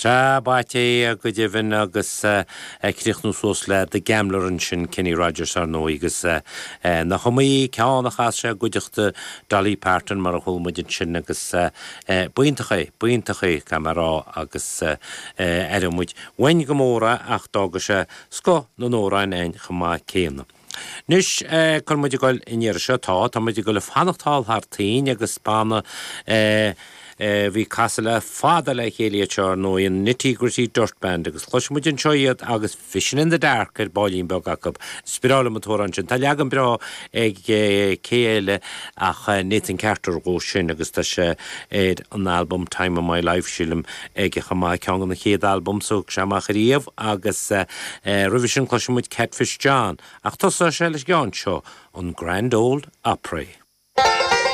Sea, b'ait é go deimhin agus ag críochnú suas le The Gambler ansin, Kenny Rogers ar ndóigh agus nach iomaí ceann a chas sé i gcuideachta Dolly Parton mar a chuala muid ansin agus b'iontach é, b'iontach é, caithfidh mé a rá agus aireoidh muid uainn go mór é ach d'fhága sé scoth na n-amhrán againn chomh maith céanna. Anois, cá bhfuil muid ag dul an iarraidh seo? Tá, tá muid ag dul ag fanacht thall thar toinn agus banna a bhí ag casadh le fada le chéile iad seo, ar ndóigh, an Nitty Gritty Dirt Band agus cloisfidh muid anseo iad agus Fishing in the Dark ar baillín beag acu. Is breá liom an t-amhrán sin. Tá leagan breá ag cé eile ach Nathan Carter dhó sin agus tá sé ar an albam Time of My Life, sílim, aige chomh maith, ceann de na chéad albams a thug sé amach ariamh agus roimhe sin cloisfidh muid Catfish John ach tosóidh sé leis an gceann seo, an Grand Ole Opry.